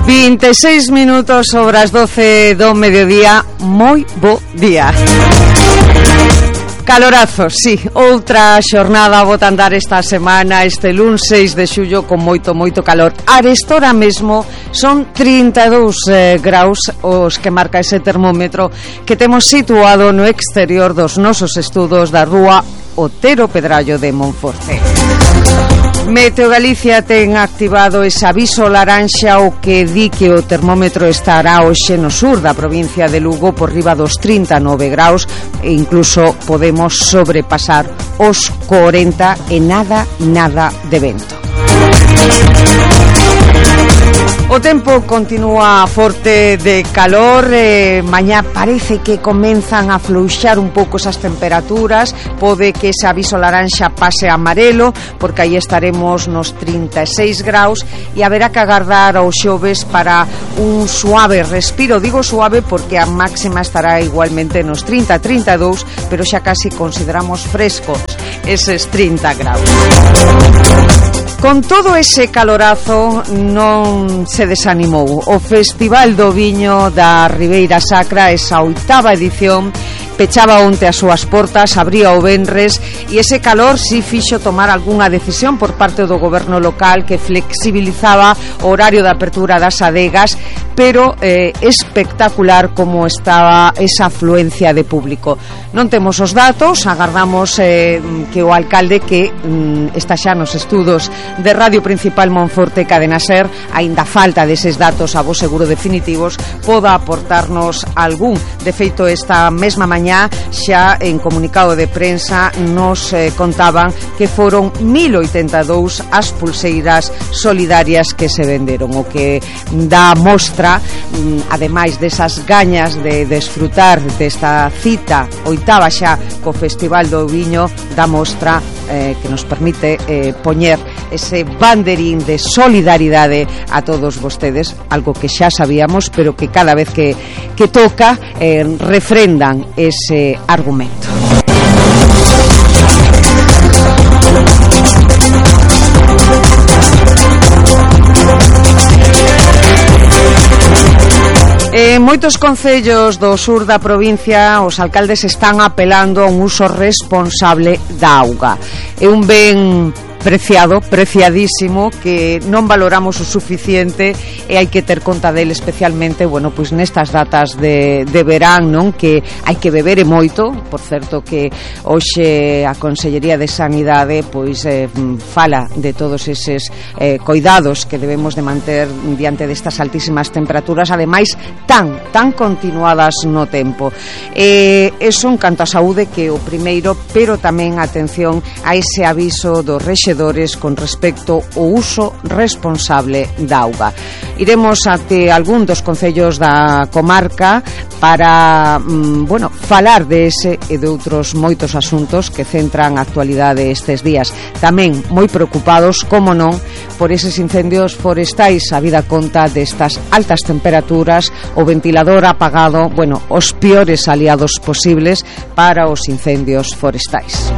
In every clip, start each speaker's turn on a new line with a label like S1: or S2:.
S1: 26 minutos sobre as 12 do mediodía. Moi bo día. Calorazo, sí, outra xornada bota andar esta semana, este luns 6 de xullo con moito calor. Arestora mesmo son 32 graus os que marca ese termómetro que temos situado no exterior dos nosos estudos da rúa Otero Pedrallo de Monforte. Meteo Galicia ten activado ese aviso laranxa, o que di que o termómetro estará hoxe no sur da provincia de Lugo por riba dos 39 graus e incluso podemos sobrepasar os 40 e nada de vento. O tempo continúa forte de calor, mañá parece que comenzan a fluxar un pouco esas temperaturas, pode que ese aviso laranxa pase a amarelo, porque aí estaremos nos 36 graus e haberá que agardar ao xoves para un suave respiro. Digo suave porque a máxima estará igualmente nos 30-32, pero xa casi consideramos frescos eses 30 graus. Con todo ese calorazo non se desanimou o Festival do Viño da Ribeira Sacra, esa 8ª edición, pechaba onte as súas portas, abría o venres e ese calor si fixo tomar algunha decisión por parte do goberno local que flexibilizaba o horario de apertura das adegas, pero espectacular como estaba esa afluencia de público. Non temos os datos, agardamos que o alcalde, que está xa nos estudos de Radio Principal Monforte Cadena Ser, aínda falta deses datos a bo seguro definitivos, poda aportarnos algún. De feito, esta mesma mañá xa en comunicado de prensa nos contaban que foron 1082 as pulseiras solidarias que se venderon, o que dá mostra, ademais desas gañas de desfrutar desta cita oitava xa co Festival do Viño, dá mostra que nos permite poñer ese banderín de solidaridade a todos vostedes, algo que xa sabíamos, pero que cada vez que toca refrendan ese argumento. En moitos concellos do sur da provincia os alcaldes están apelando a un uso responsable da auga. É un ben preciado, preciadísimo, que non valoramos o suficiente e hai que ter conta dele, especialmente, bueno, pois nestas datas de verán, non? Que hai que beber e moito. Por certo que hoxe a Consellería de Sanidade pois fala de todos eses cuidados que debemos de manter diante destas altísimas temperaturas, ademais tan continuadas no tempo. Eso en canto a saúde, que o primeiro, pero tamén atención a ese aviso dos rexedores con respecto ao uso responsable da auga. Iremos até algún dos concellos da comarca para, falar de ese e de outros moitos asuntos que centran a actualidade estes días. Tamén moi preocupados, como non, por eses incendios forestais, a vida conta destas altas temperaturas, o ventilador apagado, os piores aliados posibles para os incendios forestais.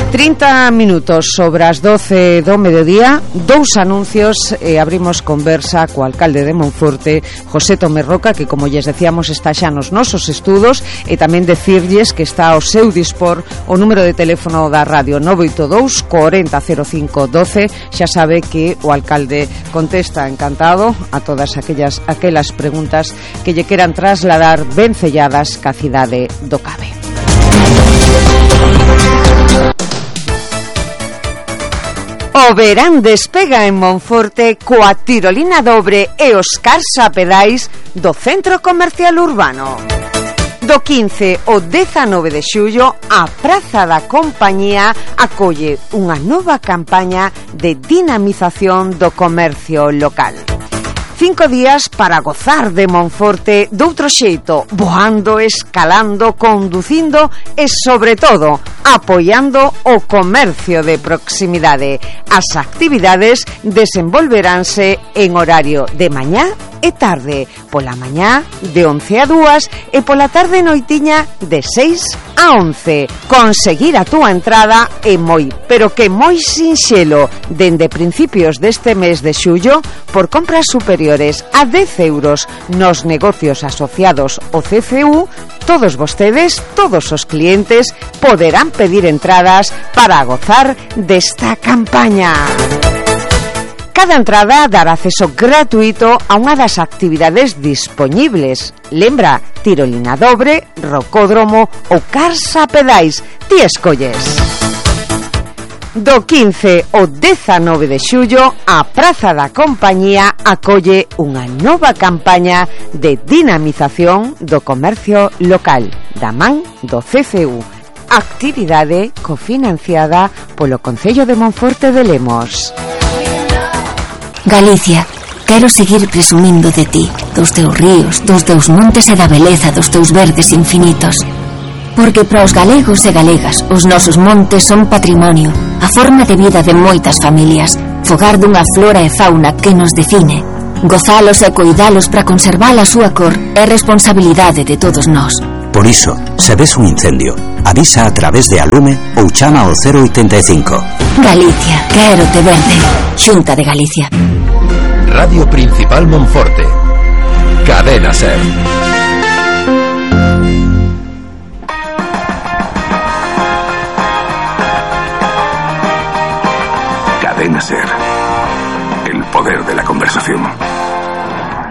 S1: 30 minutos sobre as 12 do mediodía, dous anuncios e abrimos conversa co alcalde de Monforte, José Tomé Roca, que, como lles decíamos, está xa nos nosos estudos, e tamén decirlles que está ao seu dispor o número de teléfono da radio 982 40 05 12. Xa sabe que o alcalde contesta encantado a todas aquelas preguntas que lle queran trasladar ben selladas ca cidade do Cabe. O verán despega en Monforte coa tirolina dobre e os cars a pedais do Centro Comercial Urbano. Do 15 ao 19 de xullo, a Praza da Compañía acolle unha nova campaña de dinamización do comercio local. 5 días para gozar de Monforte doutro xeito, voando, escalando, conducindo e, sobre todo, apoiando o comercio de proximidade. As actividades desenvolveránse en horario de mañá e tarde, pola mañá de 11 a 2 e pola tarde noitiña de 6 a 11. Conseguir a túa entrada é moi, pero que moi sinxelo, dende principios deste mes de xullo, por compras superiores a 10 euros nos negocios asociados ao CCU, todos vostedes, todos os clientes, poderán pedir entradas para gozar desta campaña. Cada entrada dará acceso gratuito a unha das actividades dispoñibles. Lembra, tirolina dobre, rocódromo ou carsa pedais. Ti escolles. Do 15 ao 19 de xullo, a Praza da Compañía acolle unha nova campaña de dinamización do comercio local, da man do CCU. Actividade cofinanciada polo Concello de Monforte de Lemos.
S2: Galicia, quero seguir presumindo de ti, dos teus ríos, dos teus montes e da beleza dos teus verdes infinitos. Porque para os galegos e galegas, os nosos montes son patrimonio, a forma de vida de moitas familias, fogar dunha flora e fauna que nos define. Gozalos e coidalos para conservar a súa cor é responsabilidade de todos nós.
S3: Por iso, se ves un incendio, avisa a través de Alume ou chama ao 085.
S2: Galicia, quero te verde. Xunta de Galicia.
S4: Radio Principal Monforte. Cadena SER. Cadena SER. El poder de la conversación.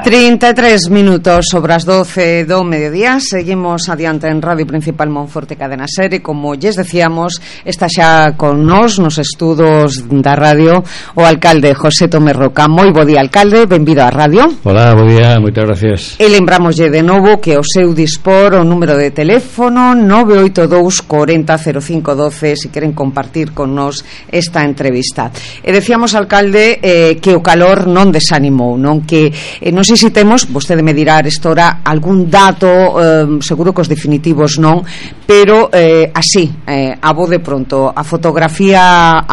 S1: 33 minutos sobre as 12 do mediodía. Seguimos adiante en Radio Principal Monforte Cadena SER e, como lles decíamos, está xa con nós nos estudos da radio o alcalde José Tomé Roca. Moi bo día, alcalde, benvido á radio.
S5: Hola, bo día, moitas gracias.
S1: E lembramoslle de novo que o seu dispor o número de teléfono 982 40 05 12 se queren compartir con nós esta entrevista. E decíamos, alcalde, que o calor non desanimou, non? Que non sei se temos, vostede me dirá arestora algún dato, seguro que os definitivos non, pero así, a bo de pronto, a fotografía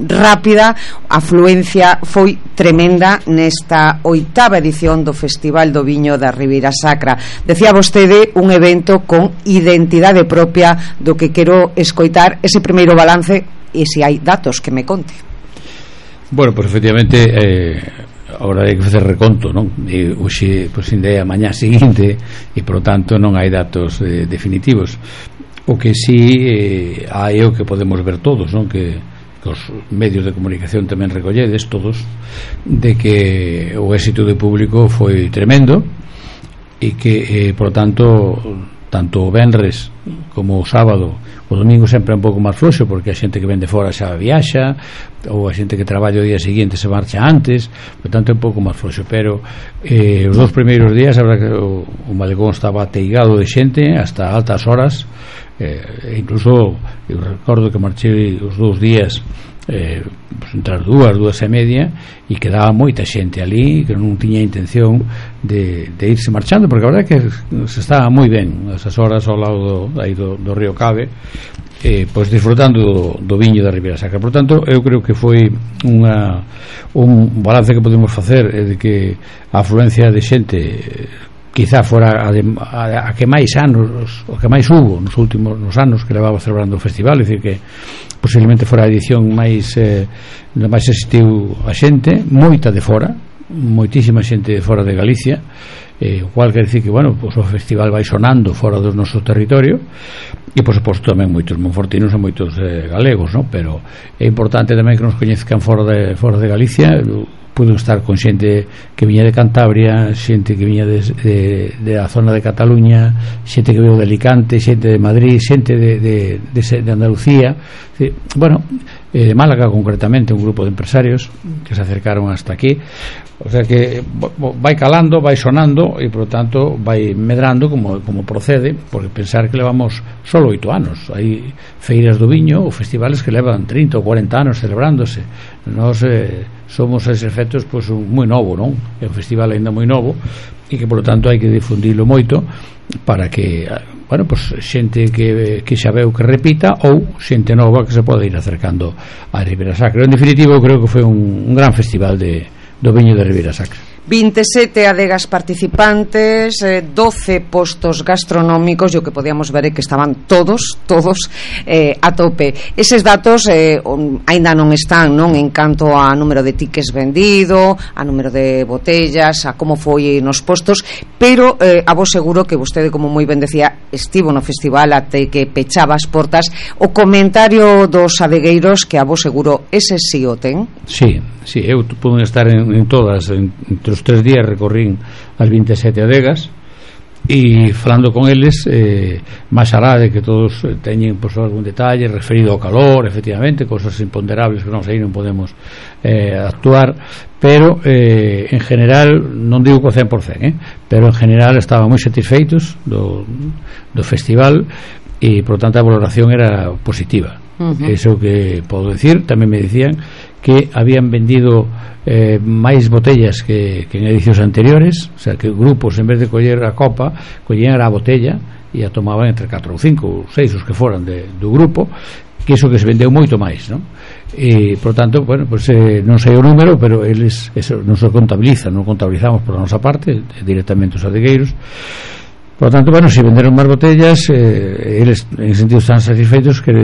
S1: rápida, a afluencia foi tremenda nesta 8ª edición do Festival do Viño da Ribeira Sacra. Decía vostede un evento con identidade propia, do que quero escoitar ese primeiro balance e se hai datos que me conte.
S5: Bueno, pues efectivamente agora hai que facer reconto, non? E hoxe, pois, ainda é a mañá seguinte e, por lo tanto, non hai datos definitivos. O que sí hai o que podemos ver todos, non? Que os medios de comunicación tamén recolledes todos, de que o éxito do público foi tremendo e que, por lo tanto, tanto o venres como o sábado, o domingo sempre é un pouco máis floxo, porque a xente que vende fora xa viaxa, ou a xente que traballa o día seguinte se marcha antes, por tanto é un pouco máis floxo. Pero os dos primeiros días, a verdade que o malecón estaba ateigado de xente hasta altas horas, incluso eu recordo que marchei os 2 días pues, entre as 2:30 e quedaba moita xente ali que non tiña intención de irse marchando, porque a verdade é que se estaba moi ben esas horas ao lado do río Cabe, pois disfrutando do viño da Ribeira Sacra. Por tanto, eu creo que foi un balance que podemos facer de que a afluencia de xente quizá fora a que máis anos, o que máis hubo nos anos que levaba celebrando o festival, é dicir que posiblemente fora a edición máis existiu a xente, moita de fora, moitísima xente de fora de Galicia, o cual quer dicir que, bueno, pues o festival vai sonando fora do noso territorio e, por suposto, tamén moitos monfortinos e moitos galegos, ¿no? Pero é importante tamén que nos coñezcan fora de Galicia. Pude estar con xente que viña de Cantabria, xente que viña de a zona de Cataluña, xente que veio de Alicante, xente de Madrid, xente de Andalucía, bueno, de Málaga concretamente, un grupo de empresarios que se acercaron hasta aquí. O sea que vai calando, vai sonando e, por lo tanto, vai medrando como procede, porque pensar que levamos solo 8 anos. Hai feiras do viño ou festivales que levan 30 ou 40 anos celebrándose. Nós somos a ese efectos pois moi novo, non? É un festival ainda moi novo e que, por lo tanto, hai que difundilo moito para que, bueno, pues xente que xa veu que repita ou xente nova que se pode ir acercando a Ribeira Sacra. En definitivo, creo que foi un gran festival do viño de Ribeira Sacra.
S1: 27 adegas participantes, 12 postos gastronómicos, e o que podíamos ver é que estaban todos a tope. Eses datos aínda non están, non, en canto a número de tickets vendido, a número de botellas, a como foi nos postos, pero a vos seguro que vostede, como moi ben decía, estivo no festival até que pechaba as portas. O comentario dos adegueiros, que a vos seguro ese sí o ten.
S5: Sí, eu pude estar en todas, entre os 3 días recorrín as 27 adegas, e falando con eles, máis alá de que todos teñen pues, algún detalle referido ao calor, efectivamente, cosas imponderables que non sei, non podemos actuar, pero en general, non digo que o 100%, pero en general estaban moi satisfeitos do festival, e por tanto a valoración era positiva. Eso que podo decir. Tamén me dicían que habían vendido máis botellas que en edicións anteriores, o sea que grupos, en vez de coller a copa, collían a botella e a tomaban entre 4 ou 5 ou 6 os que foran do grupo, que iso que se vendeu moito máis, non? E por tanto, bueno, pues, non sei o número, pero eles eso non se contabilizan, non contabilizamos por a nosa parte directamente os adegueiros. Por lo tanto, bueno, si venderon máis botellas, eles en sentido están satisfeitos, que